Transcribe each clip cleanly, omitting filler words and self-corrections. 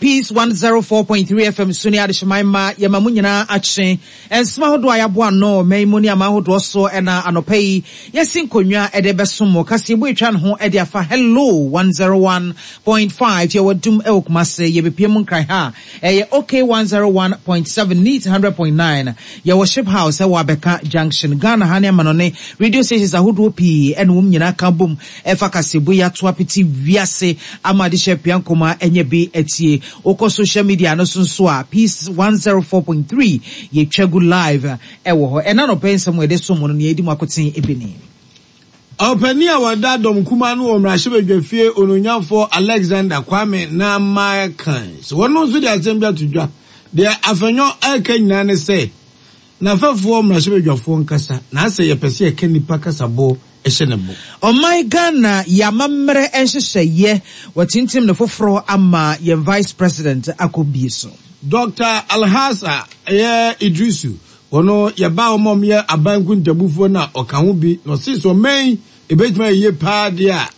Peace 104.3 FM so ne adehyeman mma yɛma mo nyinaa akye. Nsɛm ahodoɔ a yɛaboa ano wɔ ɔman yi mu ne aman ahodoɔ so na anɔpa yi yɛasi nkonnwa de rebɛsom mo. Kaseɛbɔ atwa ne ho de afa Hello 101.5 yɛwɔ Adum wɔ Kumase, yɛbɛpue mu Nkran ha a ɛyɛ OK 101.7, Neat 100.9, yɛwɔ Ship House wɔ Abɛka Junction. Ghana ha ne amanɔne radio stations ahodoɔ pii na wɔn nyinaa ka bom Ɛfa kaseɛbɔ yi ato apete wiase ama adehyɛ apia nkɔma anya bi atie. Wokɔ social media no so nso a, Peace 104.3 yɛtwa gu live wɔ hɔ. Ɛna anɔpa yi nsɛm a yɛde som mo no, nea edi mu akoten bi ni. Ɔpanin a ɔda dɔm kumaa ano wɔ mmarahyɛbadwafie Onuonyamfoɔ Alexander Kwame Namakan sɛ wɔno nso de asɛm bi ato dwa. Deɛ Afenyo reka nyinaa ne sɛ N'afɛfoɔ mmarahyɛbadwafoɔ nkasa na asɛ yɛpɛ sɛ yɛka nnipa kasaboɔ hyɛ ne bo. Ɔman Ghana yɛ amammerɛ nhyehyɛeɛ, wɔatintim no foforɔ ama yɛn Vice President akɔ bie so. Dɔkta Alhassa ɛyɛ Iddrisu, ɔno yɛbaa wɔn a wɔyɛ aban nkuntabufoɔ no a ɔka ho bi na ɔse sɛ ɔman yi ɛbɛtumi ayɛ yie paa deɛ a,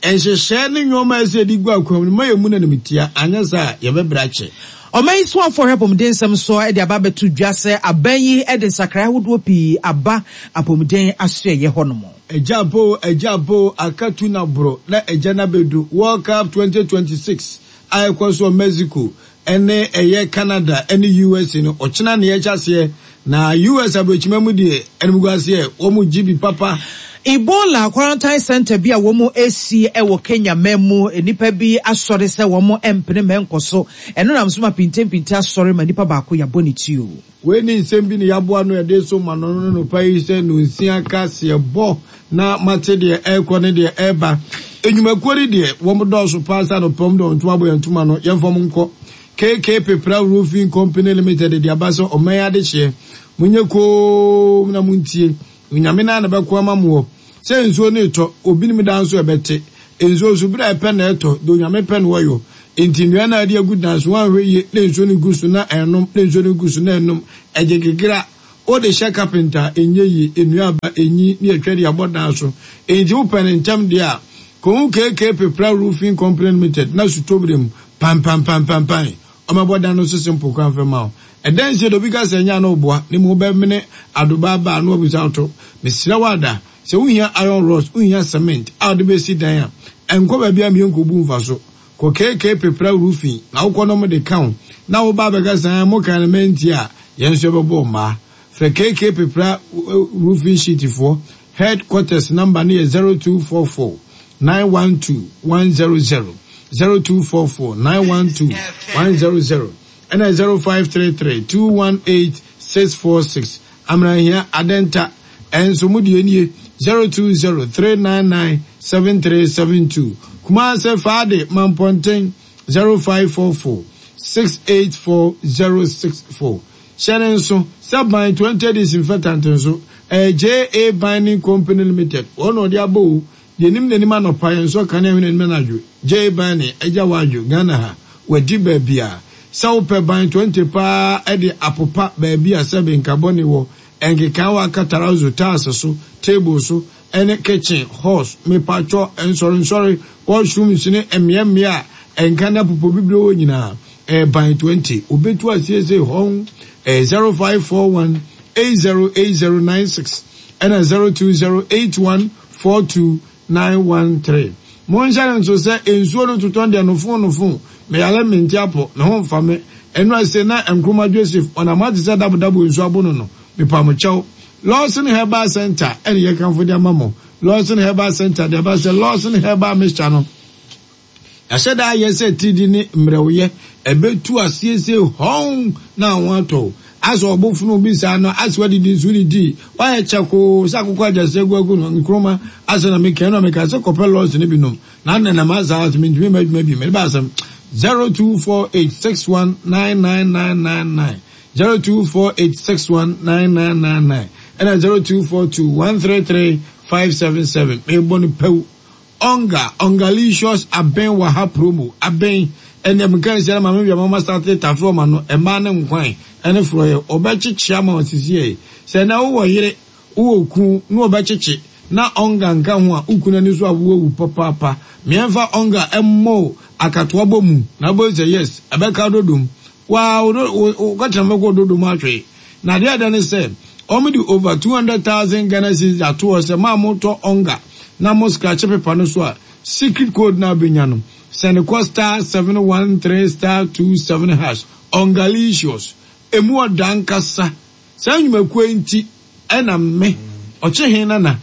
Nhyehyɛe ne nneɛma a ɛsɛ sɛ yɛde gu akwan mu no, mma yemmu no animtia, anyɛ saa a, yɛbɛbrɛ akyɛ. Ɔman yi soafoɔ hwɛ apɔmuden nsɛm so de aba abɛto dwa sɛ aban yi de nsakrae ahodoɔ pii aba apɔmuden asoɛeɛ hɔnom. Agya boo agya boo aka tu na boro na agya no abɛdu World Cup 2026 a ɛkɔ so wɔ Mexico ne ɛyɛ Canada ne USA no ɔkyena na yɛhyɛ aseɛ na US aburokyima mu deɛ animguaseɛ wɔn gye bi papa. Ebola quarantine centre bi a wɔn asi wɔ Kenya man mu, nnipa bi asɔre sɛ wɔn mpene ma ɛnkɔ so. Ɛno nam so ma pintempinte asɔre ma nipa baako yɛabɔ ne tuo. Wei ne nsɛm bi na yɛaboa ano yɛde reso ma no no nɔpa yi sɛ nonsia ka seɛ bɔ na mate deɛ ɛrekɔ ne deɛ ɛreba. Nnwumakuo no deɛ wɔn dɔɔso paa sɛ anɔpa wɔn de wɔn ntoma abɔ yɛn ntoma no yɛmfa wɔn nkɔ. KK Pepra Roofing Company Limited de aba sɛ ɔman adehyeɛ. Monyɛ koom na montie. Onyame no ara na ɛbɛko ama moɔ. Sɛ nsuo no retɔ, obinom da nso ɛbɛte. Nsuo nso, berɛ a ɛpɛ na ɛtɔ, deɛ Onyame pɛ na ɔyɔ. Enti nnua no a ade agu dan so, woanhwɛ yie na nsuo no gu so na ɛrenom, na nsuo no gu so na ɛrenom, ɛgye gegra. Wode hyɛ kapenta a, ɛnyɛ yie, nnua aba, ɛnyi, ne atwa de abɔ dan so. Enti wopɛ no ntɛm deɛ a, kɔhu KK Pepra Roofing Company Limited na sutɔberɛ mu, pampampampampan, Ɔmmɛbɔ dan no so simple koraa mfa mma wo. Ɛdɛn nti na obi ka sɛ ɛnyɛ a na ɔboa, na mmom wobɛmene adobaa ba a na wabisa wo to? Mesrɛ wo Ada, sɛ wuhia iron rods, wuhia cement a wode besi dan a, nkɔ baabi a mmea nkobu mfaso. Kɔ KK Pepra Roofing na wokɔ na wɔde ka wo, na woba abɛka sɛ ɛɛ mokae no mantie a, yɛn nso yɛbɛbɔ wo mmaa. Frɛ KK Pepra Roofing Sheet foɔ Head quarters number no yɛ 0244 912 100, 0244 912 100, ɛna 0533 218 646. Amanahia, Adenta, ɛnso mo deɛ nie 020 399 7372. Kumase, Faade, Mampɔnten 0544 684 064. Hyɛ no nso sɛ Ban 20 Disinfectant nso, ɛyɛ JA Binding Company Limited wɔn na wɔde aba o, Deɛ nim n'anim anɔpa, yɛn nso kanea hwɛ n'anim anadwo. JA Binding, agya w'adwo, Ghana ha, wadi baabi a. Sɛ wopɛ Ban 20 paa de apopa baabi a sɛbe nka bɔne wɔ, nkekaawa, katarazo, tiles so, table so, ne kitchen, halls, mepatwɔ, nsɔrensɔre, washrooms ne mmeammea a nka ne apopobibire wɔ nyinaa. Ɛyɛ ban 20. Obetu asiesie hɔn. Ɛyɛ 0541 808096 ɛna 0208142913. Monhyɛ no nso sɛ nsuo no totɔ deɛ nofo nofo, meyare mente apɔ, me ho mfa me. Ɛno ase na Nkrumah Joseph ɔnam ate sɛ dabodabo nsuo abono no. Mepa mo kyɛw. Lawson Herbal Centre ɛne yɛkamfo de ama mo. Lawson Herbal Centre de aba sɛ Lawson Herbal Mixture no. Yɛahyɛ da ayɛ sɛ atiridii ne mmerɛwyɛ ɛbɛtu asiesie hɔn na ho atɔ wo. Asɛ ɔbofono bi saa no asɛ wadidi nso wodidii wayɛ kyɛkoo sɛ akokɔ agyasɛ agu agu no nkroma asɛ na meka ɛno a meka sɛ kɔpɛ lɔs no bi nom na nenam asa ase mentumi mma adwuma bi mede ba asɛm 0248619999 0248619999 ɛna 0242133577 mebɔ no pɛw Onga, Ongalicious Abɛn wɔ ha promo, abɛn, ɛnɛ meka nsia na maame wia mama starte tafe ɔma no, ɛmaa ne nkwan, ɛne frɔyɛ, ɔbɛkyekye ama wo sisiɛ, sɛ ɛnɛ wowɔ yere, wowɔ kun, na ɔbɛkyekye, na Onga nka ho a, wo kunu ani so awo awu papaapa, meɛnfa Onga ɛmmɔ wo. akatoa bɔ mu na wobɛhu sɛ yes ɛbɛka dodom. Waa wo wo kɔtena bɛkɔ dodom ahwee. Na adeɛ a ɛda ne sɛ wɔn de over 200,000 Ghana cedis ato hɔ sɛ maa motɔ onga na mo scratch paper no so a secret code no a wobɛnya no sɛne kɔ star 713 star 27 hash ongalicious emu ɔda ankasa. Saa nnwumakuo yi nti na me, Ɔkyehe Nana,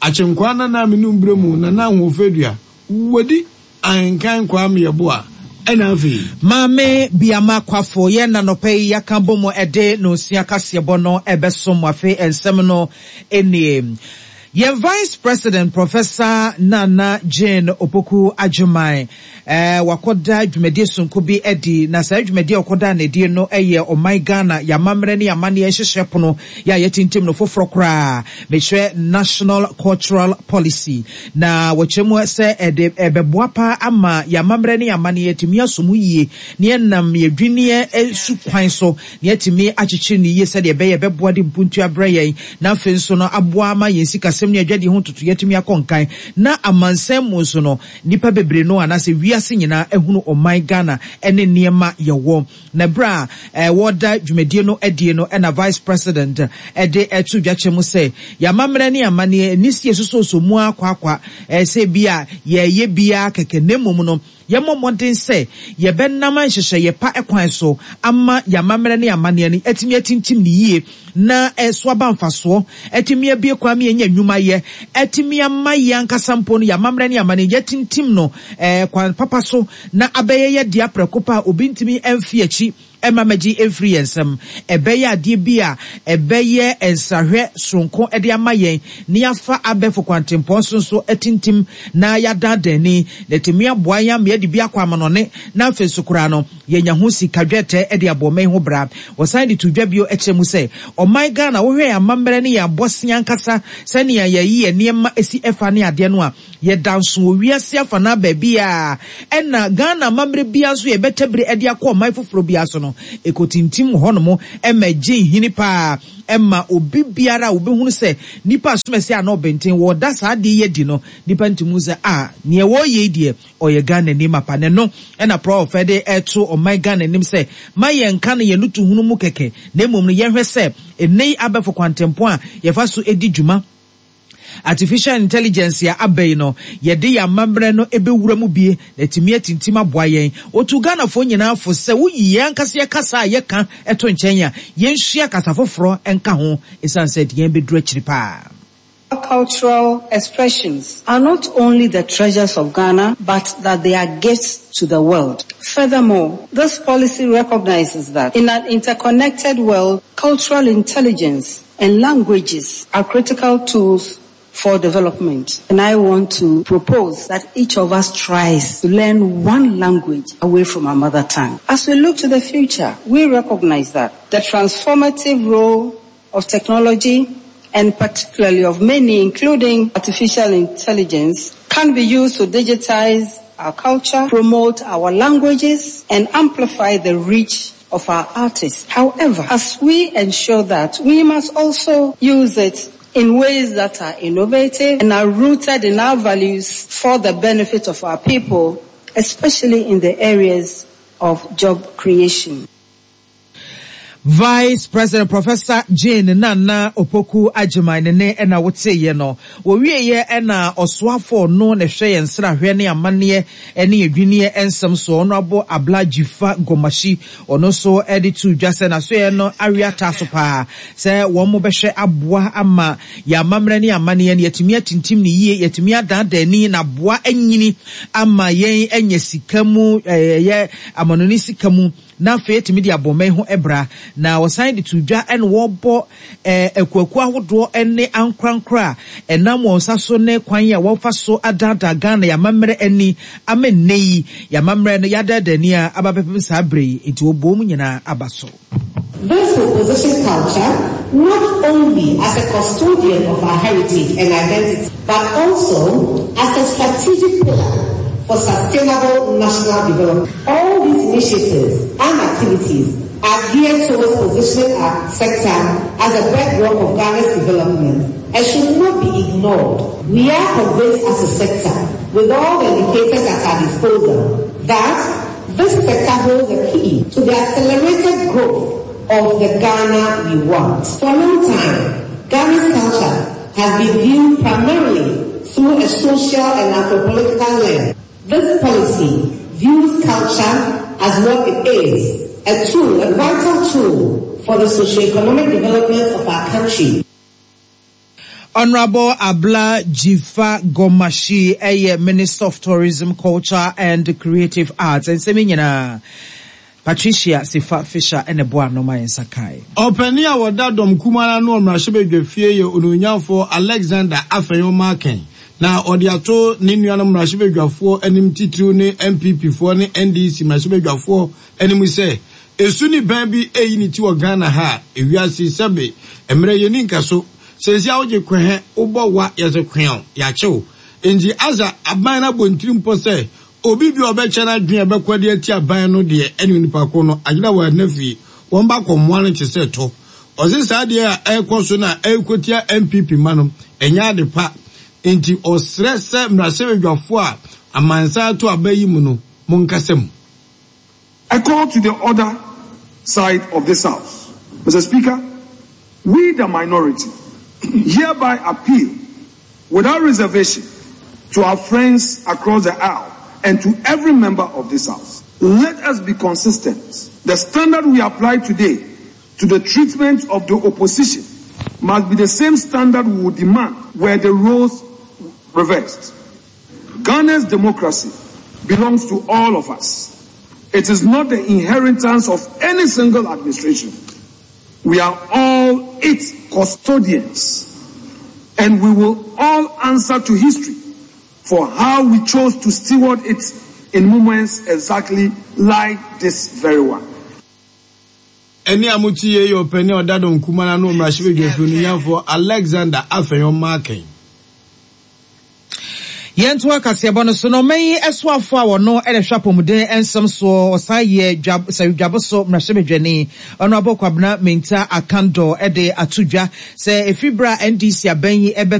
Akyenkwaa Nana a menum berɛ mu Nana Ahoɔfɛdua, wadi Ahenkan Kwame Yeboah, ɛna afei. Maame Biama Kwafo, yɛn na nɔpa yi yɛaka bɔ mu de nonsia kaseɛbɔ no ɛbɛsom mo. Afei nsɛm no nie. Yɛn Vice President Professor Nana Jane Opoku Agyemang wakɔda dwumadie sononko bi adi, na saa dwumadie a ɔkɔdaa no adie no yɛ ɔman Ghana yɛn amammerɛ ne yɛn amanneɛ nhyehyɛɛ pono yɛ a yɛatintim no foforɔ koraa, mekyerɛ National Cultural Policy. Na wɔkyerɛ mu sɛ ɛde ɛbɛboa paa ama yɛn amammerɛ ne yɛn amanneɛ atumi asɔ mu yie na yɛnam yɛn adwinneɛ su kwan so na yɛatumi akyekyere no yie sɛdeɛ ɛbɛyɛ ɛbɛboa de mpuntuo abrɛ yɛn na afei nso no aboa ama yɛn sikasɛm ne adwadie ho ntotoeɛ atumi akɔ nkan na amansan mu nso no nnipa bebree no anaasɛ wiase nyinaa ahunu ɔman Ghana ne nneɛma yɛwɔ. Na berɛ a wɔreda dwumadie no adie no na Vice President de to dwa kyerɛ mu sɛ yɛn amammerɛ ne amanneɛ nni sɛ yɛsosɔsosɔ mu ara kwakwa sɛ ebia yɛreyɛ bi ara kɛkɛ na mmom no Yɛmmɔ mmɔden sɛ yɛbɛnam nhyehyɛeɛ pa kwan so ama yɛn amammerɛ ne amanneɛ no atumi atintim no yie na ɛso aba mfasoɔ, atumi abue kwan ma yɛanya nnwuma yɛ, atumi ama yɛn ankasa mpo no yɛn amammerɛ ne amanneɛ yɛatintim no kwan papa so na abɛyɛ yɛn dea prɛko pɛ a obi ntumi mfi akyi mma mmɛgye mfiri yɛn nsam. Ɛbɛyɛ adeɛ bi a ɛbɛyɛ nsrahwɛ soronko de ama yɛn na yɛafa abɛɛfo kwantempɔn so nso atintim na yɛadaadaa ani, na atumi aboa yɛn ama yɛde bi akɔ amanɔne na afei nso koraa no yɛanya ho sika dwɛtɛ de abɔ ɔman yi ho bra. Wɔsan de too dwa bio kyerɛ mu sɛ, ɔman Ghana, wohwɛ yɛn amammerɛ ne yɛn abɔsea ankasa sɛnea yɛyi yɛn nneɛma si fa ne adeɛ no a, Yɛda nso wɔ wiase afanaa baabiara ɛna Ghana amammerɛ biara nso yɛbɛtabiri de akɔ ɔman foforɔ biara so no, ɛkɔtintim wɔ hɔnom ma ɛgye nhini pa ara ma obi biara a ɔbɛhunu sɛ nipa asomasi anaa ɔbenten wɔreda saa adeɛ yi adi no, nipa ntumi hu sɛ ah, neɛ wɔreyɛ yi deɛ ɔyɛ Ghanani mapa. Na ɛno na Prɔf de reto ɔman Ghana anim sɛ ma yɛnka no yɛn nutuhunu mu kɛkɛ na mmom no yɛnhwɛ sɛ ɛnnɛ yi abɛɛfo kwantempɔn a yɛfa so di dwuma, Artificial intelligence a aba yi no, yɛde yɛn amammerɛ no bɛwura mu bi na atumi atintim aboa yɛn. Ɔtuu Ghanafoɔ nyinaa fo sɛ woyi yɛn ankasa yɛn kasa a yɛka to nkyɛn a, yɛnsua kasa foforɔ nka ho ɛsiane sɛ ɛde yɛn bɛduru akyiri paa. Cultural expressions are not only the treasures of Ghana, but that they are gifts to the world. Furthermore, this policy recognizes that in an interconnected world, cultural intelligence and languages are critical tools for development. And I want to propose that each of us tries to learn one language away from our mother tongue. As we look to the future, we recognize that the transformative role of technology and particularly of many, including artificial intelligence, can be used to digitize our culture, promote our languages, and amplify the reach of our artists. However, as we ensure that, we must also use it in ways that are innovative and are rooted in our values for the benefit of our people, especially in the areas of job creation. Vice President Professor Jane Nana Opoku Agyemang ne ne na woteeɛ no. Wɔwieeɛ na ɔsoafoɔ no na ɛhwɛ yɛn nsrahwɛ ne amanneɛ ne adwinneɛ nsɛm soɔ, Honourable Abla Dzifa Gomashie, ɔno nso de too dwa sɛ n'asoɛeɛ no awe ataa so paa sɛ wɔbɛhwɛ aboa ama yɛn amammerɛ ne amanneɛ no yɛatumi atintim no yie, yɛatumi adaadaa ani na aboa anyini ama yɛn anya sika mu, ɛyɛ amanɔne sika mu. Na afei atumi de abɔ ɔman yi ho bra. Na wɔsan de too dwa na wɔrebɔ akuakuo ahodoɔ ne ankorankoro a ɛnam wɔn nsa so ne kwan a wɔfa so adaadaa Ghana yɛn amammerɛ ani ama nnɛ yi yɛn amammerɛ no yɛadaadaa ani a aba bɛpem saa berɛ yi nti wɔbɔ wɔn nyinaa aba so. This will position culture not only as a custodian of our heritage and identity, but also as a strategic pillar for sustainable national development. All these initiatives and activities are geared towards positioning our sector as a bedrock of Ghana's development and should not be ignored. We are convinced as a sector, with all the indicators at our disposal, that this sector holds the key to the accelerated growth of the Ghana we want. For a long time, Ghana's culture has been viewed primarily through a social and anthropological lens. This policy views culture as what it is, a tool, a vital tool for the socio-economic development of our country. Honourable Abla Dzifa Gomashie yɛ Minister of Tourism, Culture and Creative Arts. Nsɛm yi nyinaa, Patricia Sefa Fisher na ɛboaa ano ma yɛn nsa kae. Ɔpanin a ɔda dɔm kumaa no ano wɔ mmarahyɛbadwafie yɛ Onuonyamfoɔ Alexander Afenyo-Markin na ɔde ato ne nuanom mmarahyɛbadwafoɔ anim titiriw ne NPP foɔ ne NDC mmarahyɛbadwafoɔ anim sɛ esu ne bɛn bi reyi ne ti wɔ Ghana ha a ewiase sɛbe mmerɛ yɛnni nkaso seesei a wogye kwɛhɛ wobɔ wa yɛse kweaw yɛakye wo enti asa aban no abɔ ntirimpɔ sɛ obi bi a ɔbɛkyɛ n'adwene a ɛbɛkɔ de atia aban no deɛ ɛne onipa ko no agyina wɔ ɛna fie wɔn ba kɔ mmoa no te sɛ tɔ ɔse saa deɛ a ɛrekɔ so na ɛrekɔtia NPP mma no ɛnyɛ ade pa enti ɔsrɛ sɛ mmarahyɛbadwafoɔ a amansan ato aba yi mu no monkasa mu. I call to the other side of this house. Mr. Speaker, we the minority hereby appeal without reservation to our friends across the aisle and to every member of this house. Let us be consistent. The standard we apply today to the treatment of the opposition must be the same standard we would demand were the roles reversed. Ghana's democracy belongs to all of us. It is not the inheritance of any single administration. We are all its custodians, and we will all answer to history for how we chose to steward it in moments exactly like this very one. Ɛnne a mote yei yɛ ɔpanin a ɔda dɔm kumaa no ano wɔ mmarahyɛbadwafie no nuafoɔ Alexander Afenyo-Markin. Yɛntoa kaseɛbɔ no so na ɔman yi soafoɔ a ɔno na ɛhwɛ apɔmuden nsɛm soɔ, ɔsan yɛ dwa Sawidwabo so mmarahyɛbadwani, Honourable Kwabena Mintah Akandoh de ato dwa sɛ ɛfiri berɛ a NDC abɛn yi bɛ.